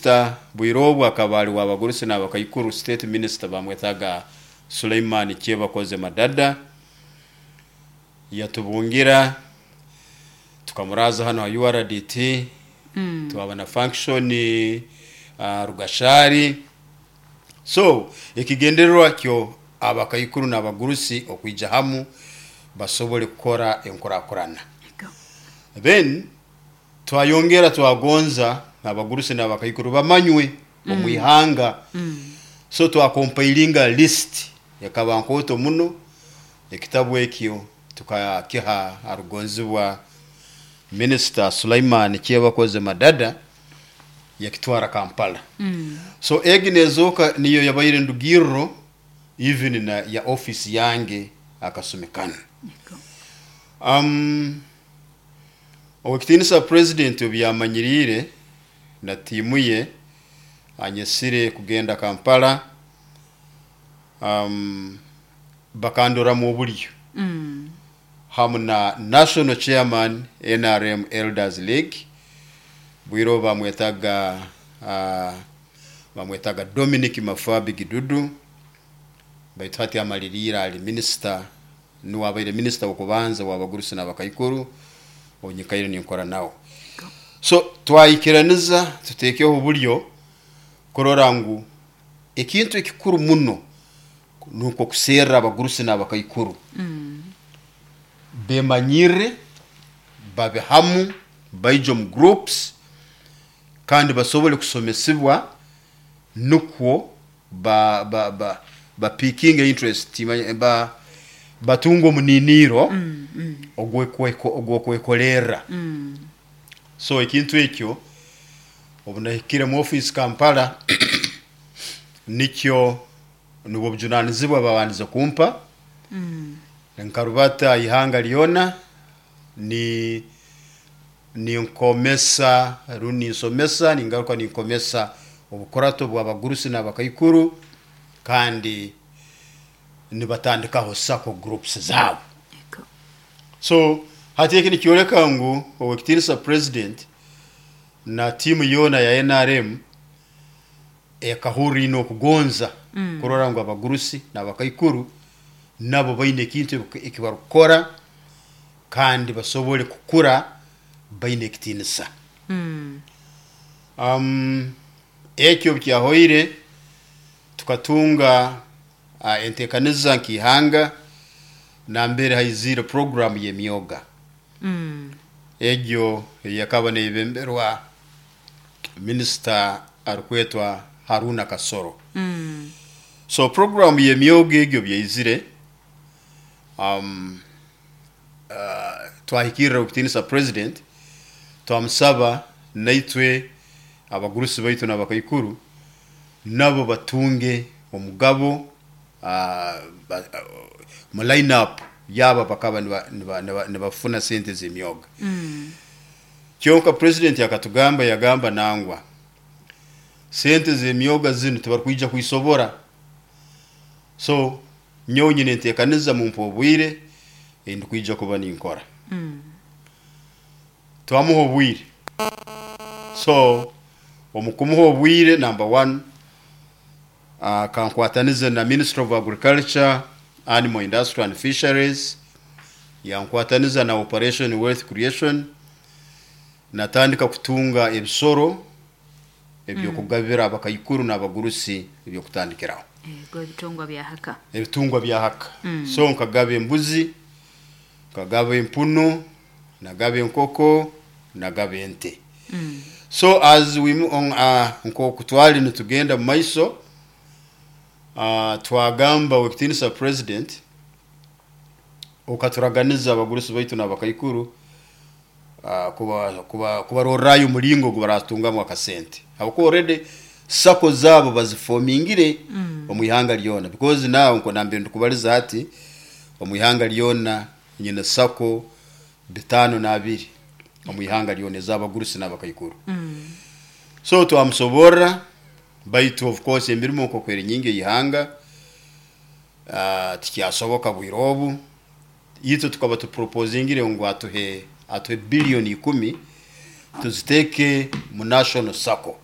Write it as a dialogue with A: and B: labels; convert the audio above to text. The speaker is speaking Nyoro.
A: Minisita bwire akaba ali w'abagurusi n'abakaikuru, state minister, bamwetaga Suleiman Kyebakoze Madada, yatubungira, tukamuraza hano ha URDT. Twaba na function Rugashari. So ekigendererwa kyo abakaikuru n'abagurusi okwija hamu basobole kukora enkurakurana. Then twayongera twagonza abagurusi n'abakaikuru bamanywe omu ihanga. So twacompilinga list, ekaba nkooto muno. Ekitabu ekyo tukakiha arugonzibwa Minisita Sulaiman Kyebakoze Madada, yakitwara Kampala. So egi nezooka niyo yabaire ndugirro even na ya office yange akasumi kanu. Owekitiinisa President obu yamanyiriire na tiimu ye anyesire kugenda Kampala, bakandoramu obulyo hamu na national chairman NRM Elders League, bwire obu bamwetaga Dominic Mafabi Gidudu, baitu hati amaliriire ali minisita, nuwe abaire minisita w'okubanza w'abagurusi n'abakaikuru onyikaire ninkora nawe. So twayikiraniza tuteekeho obulyo kurora ngu ekintu ekikuru muno nukwo kuserra abagurusi n'abakaikuru bemanyirre, babe hamu, baije omu groups kandi basobole kusomesibwa, nukwo ba bapickinge interest, batunga omuniniiro ogw'okwekolerra. So ekintu ekyo obu nahikire mu office Kampala, nikyo nubwo obujunanizibwa babandize kumpa. Nkarubata ihanga lyona ni ninkomesa rundi ninsomesa, ningaruka ninkomesa obukurato bw'abagurusi n'abakaikuru, kandi nibatandikaho SACCO groups zaabo. So hati eki nikyoleka ngu owekitiinisa President na tiimu yoona ya NRM ekahurra ine okugonza kurora ngu abagurusi n'abakaikuru nabo baine ekintu eki barukukora kandi basobole kukura baine ekitiinisa. Ekyo obu kyahoire, tukatunga enteekaniza nk'ihanga nambere haiziire program y'emyoga. Egyo eyakaba neyebemberwa minisita arukwetwa Haruna Kasoro. So program y'emyoga egyo byaizire, twahikirra owekitiinisa President, twamusaba naitwe abagurusi baitu n'abakaikuru nabo batunge omugabo mu line up yaba bakaba nibafuna sente z'emyoga. Kyonka President akatugamba, yagamba, "Nangwa, sente z'emyoga zinu tibarukwija kwisobora. So nyowe nyine enteekaniza, mumpe obwire endikwija kuba ninkora." Twamuha obwire. So omu kumuha obwire, number one, akankwatanize na Ministry of Agriculture, Animal Industry and Fisheries, yankwataniza na Operation Wealth Creation, natandika kutunga ebisoro ebyokugabira abakaikuru n'abagurusi ebyokutandikiraho.
B: Ego, ebitongwa bya haka.
A: Ebitungwa bya haka. So nkagaba embuzi, nkagaba empunu, nagaba enkoko, nagaba ente. So as we nkoku twali nitugenda mu maiso, twagamba, "Wekitiinisa President, okaturaganiza abagurusi baitu n'abakaikuru kubarorrayo omulingo ogu baratungamu akasente, habwokuba already SACCO zaabo baziformingire omu ihanga lyona," because now nko nambere ndikubaliza hati, omu ihanga lyona nyine SACCO 52 omu ihanga lyona ez'abagurusi n'abakaikuru. So twamusoborra, baitu of course emirimo nk'oku eri nyingi ey'ihanga, tikyasoboka bwire obu. Itwe tukaba tuproposingire ngu atuhe 10 billion tuziteeke mu national SACCO.